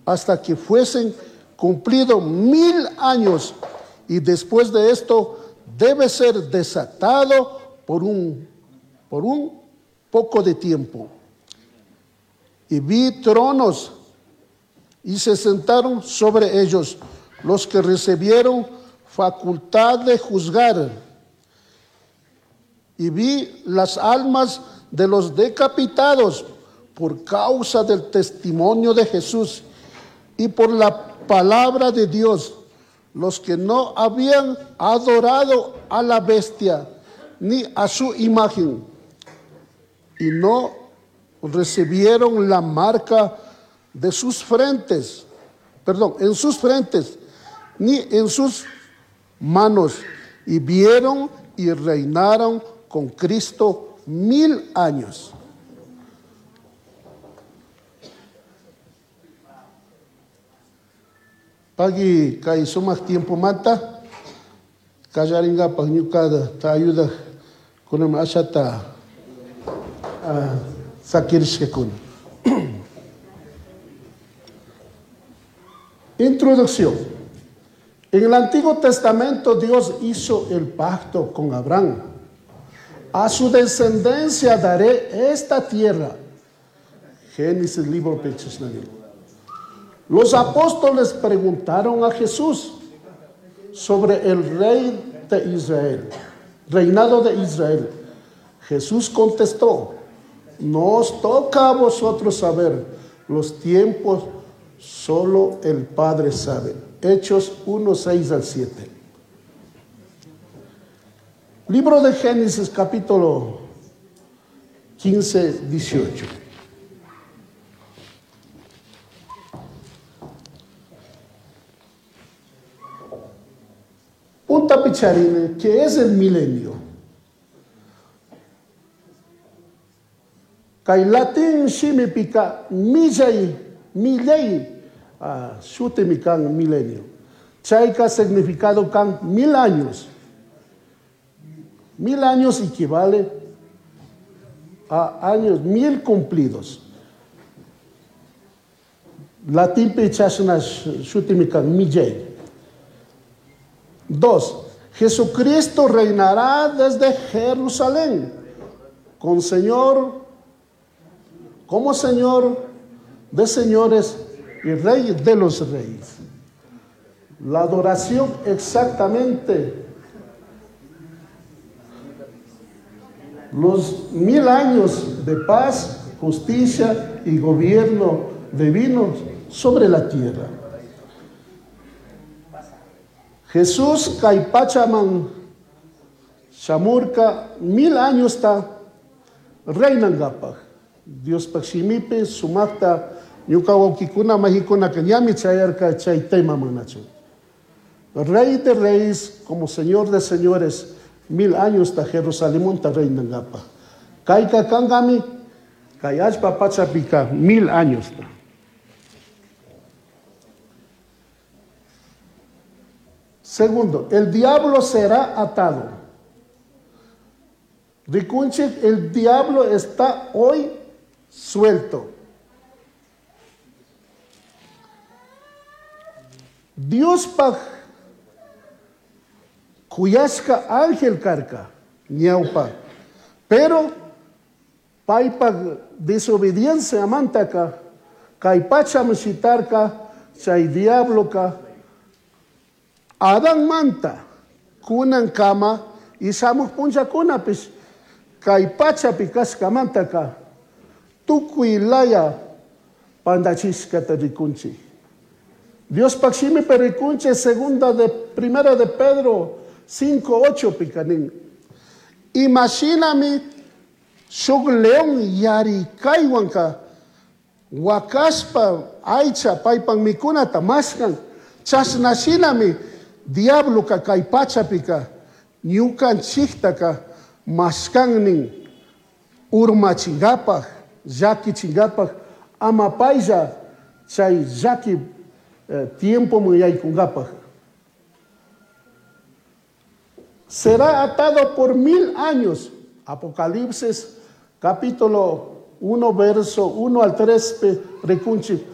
hasta que fuesen cumplido 1000 años, y después de esto debe ser desatado por un poco de tiempo. Y vi tronos, y se sentaron sobre ellos los que recibieron facultad de juzgar. Y vi las almas de los decapitados por causa del testimonio de Jesús y por la palabra de Dios, los que no habían adorado a la bestia ni a su imagen, y no recibieron la marca de sus frentes, perdón, en sus frentes, ni en sus manos, y vieron y reinaron con Cristo 1000 años. Pagui kay sumaq tiempo manta, kallaringapaj ñukada ta ayuda kunam ashata, sakirishkakuna. Introducción. En el Antiguo Testamento Dios hizo el pacto con Abraham. A su descendencia daré esta tierra. Génesis libro Pechesnani. Los apóstoles preguntaron a Jesús sobre el rey de Israel, reinado de Israel. Jesús contestó: no os toca a vosotros saber los tiempos, solo el Padre sabe. Hechos 1, 6 al 7. Libro de Génesis, capítulo 15, 18. Un tapicharine, que es el milenio. Kay latín shimi pika millay, millay, shutimi kan milenio. Chayka significado kan 1000 años. 1000 años equivale a años 1000 cumplidos. Latín pichasna shutimi kan millay. 2. Jesucristo reinará desde Jerusalén como Señor de señores y Rey de los reyes. La adoración exactamente los 1000 años de paz, justicia y gobierno divino sobre la tierra. Jesús kaypachaman shamurka 1000 años ta reinangapaj. Dios shimipi sumakta ñuka wawkikuna majikuna que ñami chayarka chay tema manachu. Rey de reyes como Señor de señores, 1000 años ta Jerusalén ta reinangapaj. Kayka kangami kay allpa pachapika 1000 años ta. Segundo, el diablo será atado. Rikunchik, el diablo está hoy suelto. Dios paj kuyashka ángel karka, ñaupa. Pero paypa desobediencia amantaka, kay pacha mishitarka, chay diabloka, Adán manta, kunan kama, y shamuj punllakunapish, kay pachapi kashkamantaka, tukuy laya pandachishkata rikunchik. Dios shimi perikunche, segunda de, primera de Pedro 5:8 pikanin. Imashinami shuk león yarikaywanka, wakashpa aycha paypan mikunata mashkan, chashnashinami diabloka kay pachapika ñukanchiktaka mashkannin urmachingapaj, llakichingapaj, ama paylla chay llaki tiempo yaykunkapaj. Será atado por 1000 años. Apocalipsis capítulo 1, verso 1 al 3, rikunchik.